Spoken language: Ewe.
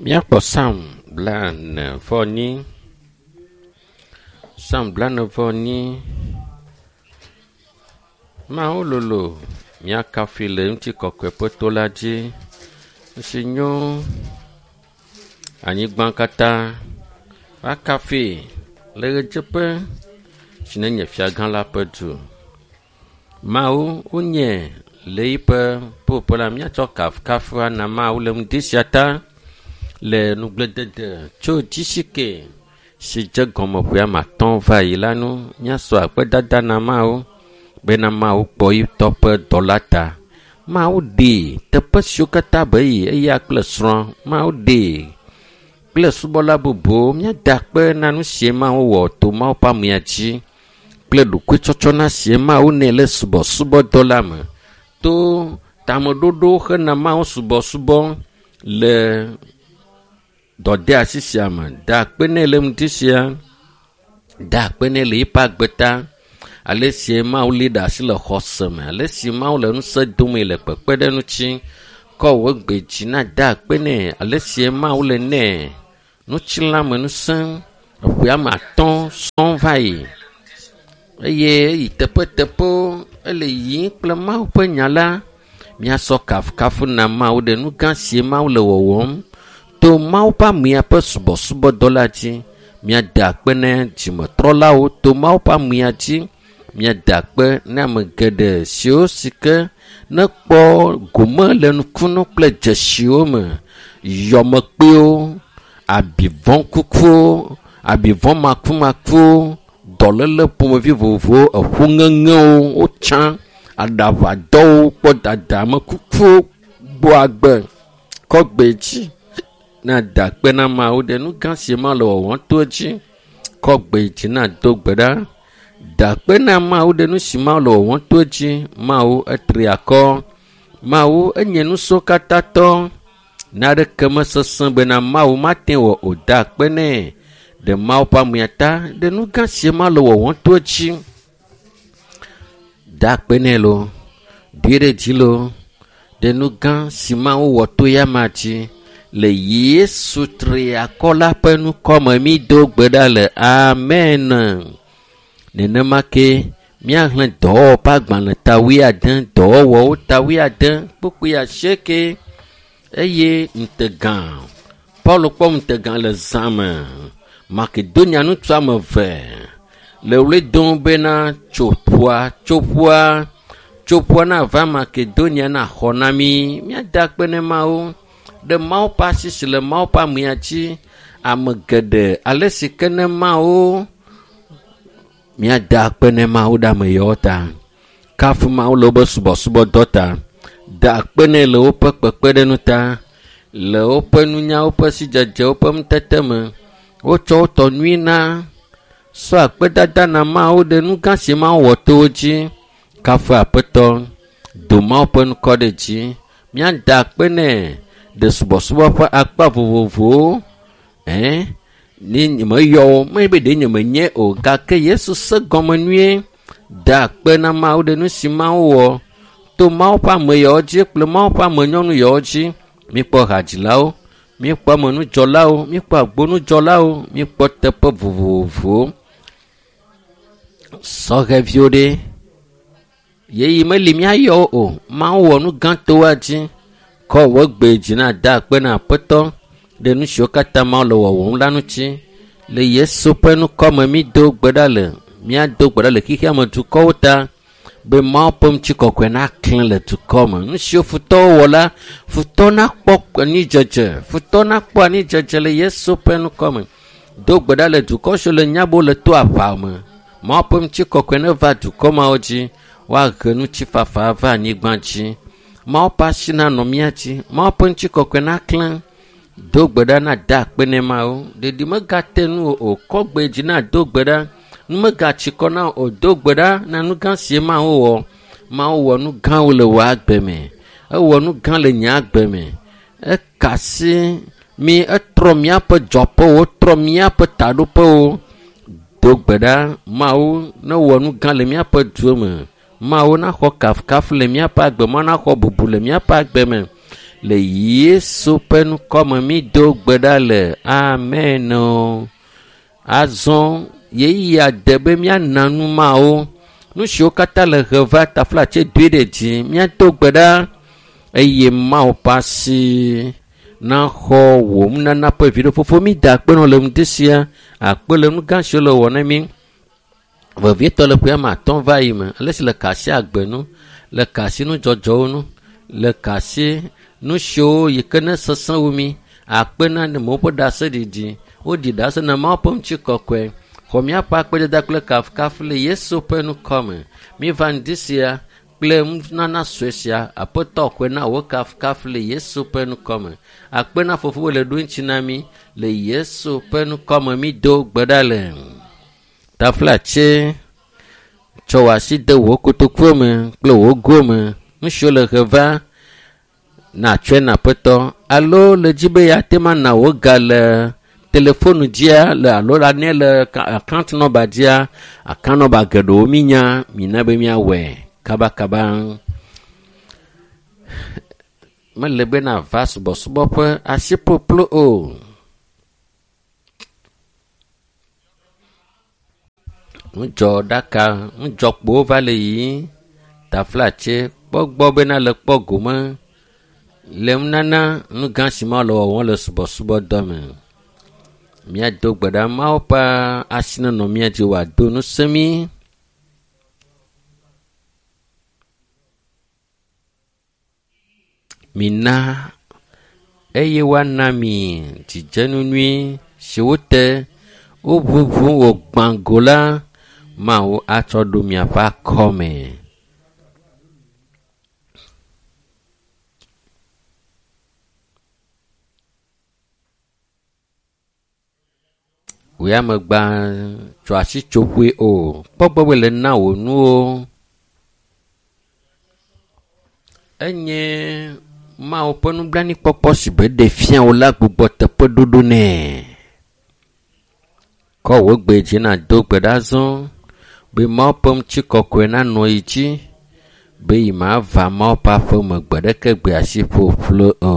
Míakpɔ Psalm 44. Psalm 44. Mawu lolo, míakafui le ŋutikɔkɔe ƒe to la dzi. Nusi nyo anyigba katã woakafui le ɣedzeƒe si nenye fiagã la ƒe du. Mawu wonye le yiƒe ƒuƒoƒe la míatsɔ kafukafu ana Mawu le ŋdi sia ta le nugbledede tso dzisike si dze gɔme ƒe ame atɔ̃ va yi la nu. Míasɔ akpedada na Mawu bena Mawu kpɔ yitɔ ƒe dɔla ta. Mawu ɖee teƒe siwo katã be yi eya kple srɔ̃. Mawu ɖee kple subɔla bubuwo. Míada akpe na nu sie Mawu wɔ to Mawu ƒe amea dzi kple ɖokuitsɔtsɔna sie Mawu nɛ le subɔsubɔdɔ la me to tameɖoɖo hena Mawu subɔsubɔ le dɔdeasi sia me. Da akpe nɛ le ŋdi sia. Da akpe nɛ le yiƒe agbe ta. Ale si Mawu li ɖe asi le xɔse me. Ale si Mawu le ŋusẽ domee le kpekpeɖeŋuti. Kɔ wò gbe dzi na da akpe nɛ. Ale si Mawu le nɛ ŋutilãme ŋusẽ eƒe ame atɔ̃ sɔŋ va yi eye eyi teƒeteƒewo ele yiyim kple Mawu ƒe nya la. Míasɔ kafukafu na Mawu ɖe nu gã sie Mawu le wɔwɔm to Mawu ƒe amea ƒe subɔsubɔdɔ la dzi. Míada akpe na dzimetrɔlawo to Mawu ƒe amea dzi. Míada akpe na ame geɖe siwo si ke nekpɔ gome le nukunu kple dzesiwo me, yɔmekpewo, abivɔ̃kukuwo, abivɔ̃ makumakuwo, dɔléle ƒomevi vovovowo, eƒuŋeŋewo wotsã, aɖaʋadɔwo kpɔ dada, amekukuwo gbɔ agbe kɔ gbe dzi. Na da akpe na Mawu ɖe nu gã si Mawu le wɔwɔm to edzi. Kɔ gbe dzi na do gbe ɖa. Da akpe na Mawu ɖe nu si Mawu le wɔwɔm to edzi. Mawu etri akɔ. Mawu enye nusrɔ̃katatɔ. Naneke mesesẽ bena Mawu mate wɔ o. Da akpe nɛ ɖe Mawu ƒe amea ta ɖe nu gã si Mawu le wɔwɔm to edzi. Da akpe nɛ loo, doe ɖe dzi loo ɖe nu gã si Mawu wɔ to ya dzi le Yesu triakɔ la ƒe ŋkɔme mído gbe ɖa le amen. Nenema ke míaxlẽ dɔwɔwɔ ƒe agbalẽ ta wuiade, dɔwɔwɔwo ta wuiade, kpukpui asieke eye ŋutega. Paulo kpɔ ŋutega le zã me. Makedonia ŋutsu ame eve le ɣli dom bena tso ƒua, tso ƒua, tso ƒua nava Makedonia naxɔ na mí. Míada akpe ne Mawu ɖe Mawu ƒe asi si le Mawu ƒe amea dzi. Ame geɖe ale si ke ne Mawu míada akpe ne Mawu ɖe ame yawo ta. Kafu Mawu le woƒe subɔsubɔdɔ ta. Da akpe nɛ le woƒe kpekpeɖeŋu ta, le woƒe nunya, woƒe sidzedze, woƒe nutete me. Wotsɔ wo tɔ nyui na sɔ akpedada na Mawu ɖe nu gã si Mawu wɔ to wo dzi. Kafu Aƒetɔ, do Mawu ƒe ŋkɔ ɖe dzi. Míada akpe nɛ ɖe subɔsubɔ ƒe akpa vovovowo. Ɛ̃, ne nyemeyɔ wo, menye be ɖe nyemenye o gake Yesu se gɔme nyuie. Da akpe na Mawu ɖe nu si Mawu wɔ to Mawu ƒe ame yawo dzi kple Mawu ƒe ame nyɔnu yawo dzi. Míkpɔ hadzilawo, míkpɔ amenudzɔlawo, míkpɔ agbonudzɔlawo, míkpɔ teƒe vovovowo. Sɔhɛviwo ɖe, ɣeyiɣi meli míayɔ wo o. Mawu wɔ nu gã to woa dzi. Kɔ wò gbe dzi na da akpe na Aƒetɔ ɖe nu siwo katã Mawu le wɔwɔm la ŋuti. Le Yesu ƒe ŋkɔme mído gbe ɖa le míado gbe ɖa le xexea me dukɔwo ta be Mawu ƒe ŋutikɔkɔe naklẽ le dukɔ me. Nu siwo futɔwo wɔ la, futɔ nakpɔ anidzedze, futɔ nakpɔ anidzedze le Yesu ƒe ŋkɔme. Do gbe ɖa le dukɔ siwo le nyabo le to aʋa me. Mawu ƒe ŋutikɔkɔe neva dukɔ mawo dzi. Woahe ŋutifafa va anyigba dzi. Mawu ƒe asi nanɔ mía dzi. Mawu ƒe ŋutikɔkɔe naklẽ. Do gbe ɖa na da akpe nɛ Mawu. Ɖeɖi megate nu o. Kɔ gbe dzi na do gbe ɖa. Nu megatsi kɔ na o. Do gbe ɖa na nu gã sie Mawu wɔ. Mawu wɔ nu gãwo le wò agbe me. Ewɔ nu gã le nye agbe me. Eka asi mí, etrɔ míaƒe dzɔƒewo, trɔ míaƒe taɖoƒewo. Do gbe ɖa Mawu newɔ nu gã le míaƒe duwo me. Mawu naxɔ kafukafu le míaƒe agbe, Mawu naxɔ bubu le míaƒe agbe me. Le Yesu ƒe ŋkɔme mi do gbe ɖa le amen o. Azɔ ɣeyiɣia de be míana nu mawo. Nu siwo katã le he va taflatse doe ɖe dzi. Míado gbe ɖa eye Mawu ƒe asi naxɔ wò nunana ƒe viɖe. Fofo mi da akpe nɔ le ŋdi sia. Akpe le nu gã siwo le wɔ na mí. Vevietɔ le ƒe ame atɔ̃ va yi me. Ale si le ka asi agbe nu, le ka asi nudzɔdzɔwo nu, le ka asi nu siwo yi ke ne sesẽ wu mí. Akpe na amewo ƒe ɖaseɖiɖi. Woɖi ɖase na Mawu ƒe ŋutikɔkɔe. Xɔ míaƒe akpedada kple kafukafu le Yesu ƒe ŋkɔme. Míva ŋdi sia kple nunana sue sia. Aƒetɔ xɔe na wò kafukafu le Yesu ƒe ŋkɔme. Akpe na fofowò le ɖo ŋuti na mí le Yesu ƒe ŋkɔme mído gbe ɖa le. Taflatse tsɔ wò asi de wò kotokuwo me kple wò go me. Nu siwo le he va natsɔe na aƒetɔ alo le dzi be yeate ŋu ana wò ga le telefonu dzia le alo ane le account number dzia account number geɖewo mínya mina be míawɔe kabakaba. Mele be nava subɔsubɔƒe asi ƒuƒlu o. Ŋudzɔɖaka ŋudzɔkpowo va le yiyim. Taflatse kpɔ gbɔ bena le kpɔ gome le nunana nu gã si Mawu le wɔwɔm le subɔsubɔdɔ me. Míado gbe ɖa Mawu ƒe asi nenɔ mía dzi wòado ŋusẽ mí. Mina eye woana mi dzidzenu nyui si wote woʋuʋu wògbã go la Mawu atsɔ ɖo miaƒe akɔme. Wò ya megba tso asi tsoƒoe o. Kpɔ gbɔ be le na wò nuwo. Enye Mawu ƒe nublanuikpɔkpɔ si be ɖe fia wò la gbugbɔ teƒeɖoɖo nɛ. Kɔ wò gbe dzi nàdo gbe ɖa azɔ be Mawu ƒe ŋutikɔkɔe nanɔ yi dzi be yi mava Mawu ƒe aƒeme gbe ɖeke gbe asi ƒuƒlu o.